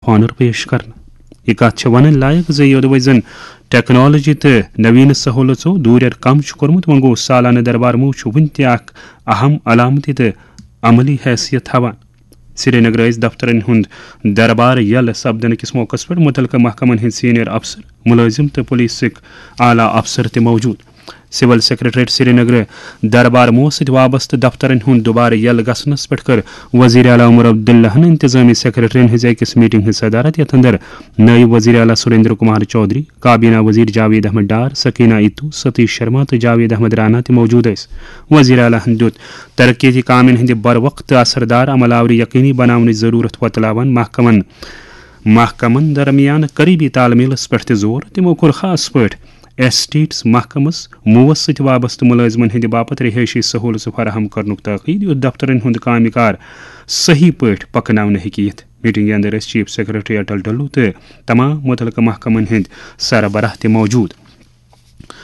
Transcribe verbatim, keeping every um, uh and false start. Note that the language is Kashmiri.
آف آنر پیش کرنہٕ۔ یہِ کتھ چھےٚ ونٕنۍ لایق زِ یوٚدوے زن ٹیکنالوجی تہٕ نویٖنہٕ سہولژو دوٗرٮ۪ر کم چھُ کوٚرمُت، وۄنۍ گوٚو سالانہٕ دربار موہ چھُ وُنہِ تہِ اکھ اہم علامتی تہٕ عملی حیثیت تھاوان۔ سرینگرٕ ٲسۍ دفترن ہُنٛد دربار یلہٕ سپدنہٕ کِس موقعس پٮ۪ٹھ مُتعلقہٕ محکمن ہٕنٛدۍ سینئر افسر، مُلٲزِم تہٕ پُلیٖسٕکۍ اعلیٰ افسر تہِ موجود۔ سول سیکرٹریٹ سرینگرٕ دربار موہ سۭتۍ وابستہٕ دفترن ہُنٛد دوبارٕ یلہٕ گژھنس پٮ۪ٹھ کٔر وزیر اعلیٰ عمر عبداللہن انتظامی سیکرٹرین ہٕنٛزِ أکِس میٹنگ ہٕنٛز صدارت، یتھ اندر نٲیِب وزیر اعلیٰ سریندر کمار چودھری، کابینہ وزیر جاوید احمد ڈار، سکینہ ایتو، ستیش شرما تہٕ جاوید احمد رانا تہِ موجود ٲسۍ۔ وزیر اعلیٰ ہن دیُت ترقیتی کامٮ۪ن ہٕنٛدِ بروقت تہٕ اثردار عمل آوری یقینی بناونٕچ ضرورت وۄتلاوان محکمن محکمن درمیان قریبی تال میلس پٮ۪ٹھ تہِ زور۔ تِمو کوٚر خاص پٲٹھۍ ایسٹیٹس محکمس موس سۭتۍ وابستہٕ مُلٲزمن ہٕنٛدِ باپتھ رہٲیشی سہولژٕ فراہم کرنُک تاکید، یُتھ دفترن ہُنٛد کامہِ کار صحیح پٲٹھۍ پکناونہٕ ہیٚکہِ یِتھ۔ میٹنگہِ اندر ٲسۍ چیف سیکرٹری اٹل ڈلو تہٕ تمام مُتعلقہٕ محکمن ہٕنٛدۍ سربراہ تہِ موجود۔